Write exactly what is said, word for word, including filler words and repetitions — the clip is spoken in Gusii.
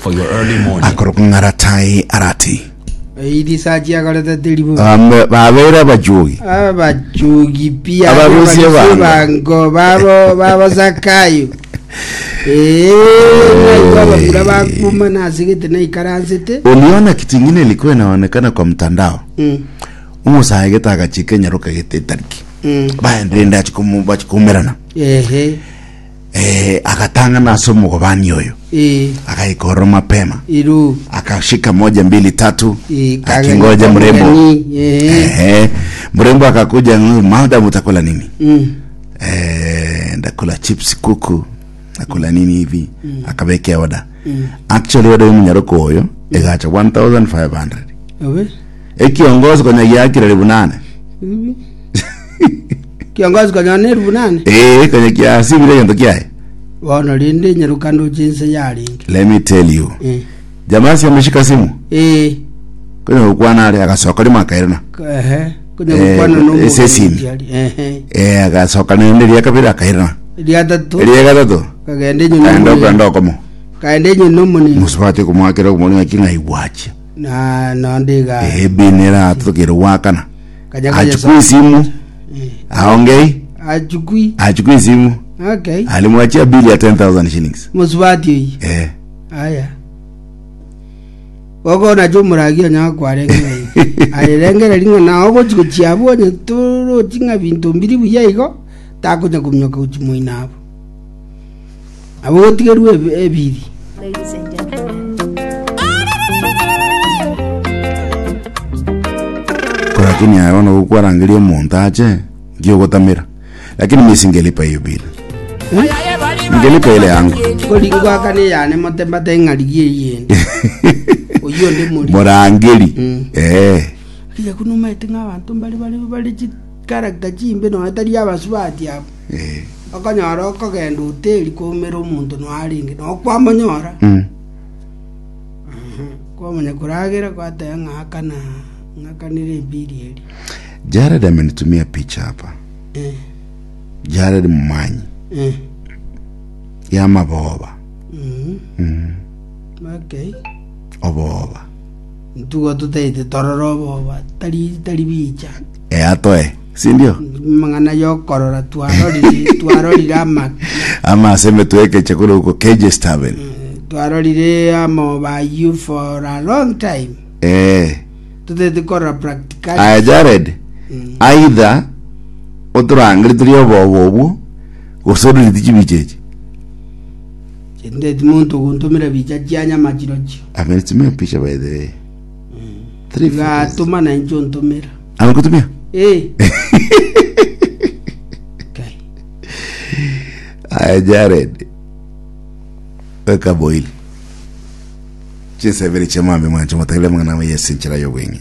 For your early morning. Akorokwa ng'aratai arati. Risachi akorete teri bobe. Bambe- Babeire abachuogi. Abachugi pi Abarusia abarusia bango. bango babo babo Zakayo. Eh, naigwa abamura bakuma nasigete naikaransete. Uliona kitu ingine ilikuwa inaonekana kwa mtandao. Mm. Omosae gete agachika enyaroka gete etariki. Mm. Baenderende achikomu bachikumerana. Ehe. Eh, agatang'ana ase omogobani oyo. Eh, Akaikorora mapema. iru. Akashika moja mbili tatu. Eh, Akingoja mrembo. kageni, Eh. Ehe. Mrembo akakuja, madam utakula nini? Mm. Eh, ndakula chips kuku nakula nini hivi mm. Akabekea oda mm. Actually oda yomunyaroko oyo egacha elfu moja mia tano Obe. ekiongozi konya giakire elfu nane. Ibi. Kiongozi konya ne elfu nane. Eh, konya kiasibire gento kiaye. Bono rinde nyaruka ndoche nse yarenge. Let me tell you, Eh. jamaa si ameshika simu Eh. konya gukwana ari agasoka rimo akairana. Ehe. Konya Eh, gukwana no ese simu. Ehe. Eh, agasoka nende ria kabiri akairana. Ria tatu. Ria gatatu Kagende nyuma. kaenda okenda okomo. Kaende nyuma muni. Musubati kumwakira kumoni ng'aki ng'aigwachia. Na na ndiga. Eh, binera tukire wakana. Kaja kaja. Achukui simu. Eh. Aongei. Achukui. Achukui simu. Okay. Alimwachia bili ya elfu kumi shillings. Musubati oyi. Eh. Aya. Gogo na chumuragia nya kwarenge. Aye ringa na ogo chikuchia bonye turo chinga bintu mbiri buya igo takunya kumnyoka uchimuina abo. Abo tigerwe ebiri. Ladies and gentlemen. Kwa lakini aona gukwarangiria omonto ache ngiogotamira lakini mi singelipa hiyo bili, ngelipa ile yangu. Koringwa kane yane motembate ng'arigie yende. Oyo ndi muri. Murangeri. Mm. Eh. Kiya kunumaete ng'a abanto mbari bari bari chi character chimbe no etari abasubati abo. Eh. Okonyora okogenda hoteli kwaumera omonto noarenge nokwamonyora. Mm. Kwamanya kuragera kwateba ng'akana ng'akanire ebiri eri. Jared amenitumia picha hapa. Eh, Jared Mumanyi eh. ya maboba. Mm. Mm. Okay. Oboba. Ntugo tutaite tororo oboba tari tari bicha. Eh, atoe si ndio? Mang'ana yokorora twarorire twarorire amaki. Ama aseme tuweke chakula huko K J's Tavern. Twarorire amoba you for a long time. Eh. Tutaite korora practically. Aya Jared, Mm. aidha oturangire turi oboba obwo gose ororeti chibicha echi. Ndeti muntu guntumira bicha chia nyama chirochio. Amenitumia picha, by the way, three photos. Gatuma na incho ntumira. Amekutumia. Eh. Okay. Aya Jared, weka boili chinsebere chemambe mwancho motagile mang'ana yesinchera yobweng'e.